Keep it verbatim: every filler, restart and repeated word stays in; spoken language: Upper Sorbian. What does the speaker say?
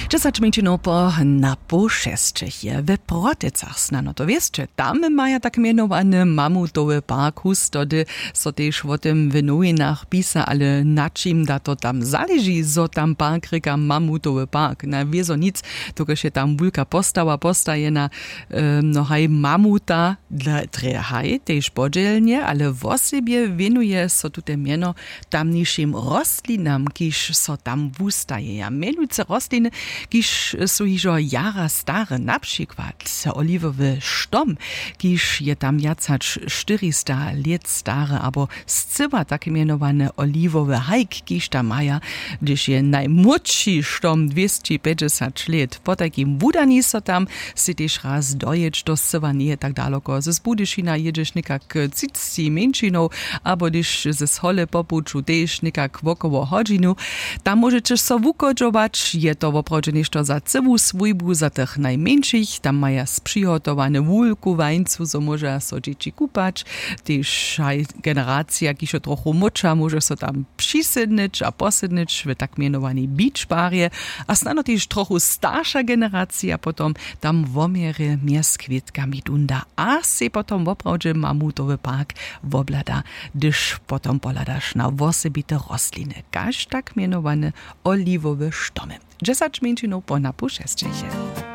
Dźesać mjeńšinow po na poł šesćich je w Protycach. Snano to wěsće, tam maja tak mjenowany mamutowy park hustody. So tež wo tym w nowinach pisa, ale na čim da to tam zaleži, zo tam park rěka mamutowy park? Na wězo nic, dokelž je tam wulka postawa postajena. No haj, mamuta, drje haj tež podźělnje, ale wosebje wěnuje so tute mjeno tamnišim rostlinam, kiž so tam wustajeja. Mjenujcy rostliny, kiž su hižo jara stare, na přikład oliwowy štom, kiž je tam wjac hač štyrista lět stary, abo scyła tak mjenowany oliwowy hajk, kiž tam maja, hdyž je najmłódši štom dwěsći pjećdźesać lět. Po tajkim wudani so tam sej tež raz dojěć, to scyła njeje tak daloko z Budyšina, jědźeš někak třiceći mjeńšinow, abo hdyž z hole po puću tež někak wokoło hodźinu. Tam móžeće so wuchodźować, je to woprawdźe něšto za cyłu swójbu, za tych najmjeńšich. Tam maja spřihotowane wulku wańcu, zo móža so dźěći kupać. Tež haj generacija, kiž je trochu młódša, móže so tam přisydnyć a posydnyć w tak mjenowanej beach barje. A snano tež trochu starša generacija potom tam woměrje mjez kwětkami dunda a sej potom woprawdźe mamutowy park wobhlada, hdyž potom pohladaš na wosebite rostliny, kaž tak mjenowane oliwowe štomy. Dźesać mjeńšinow po na poł šesćich.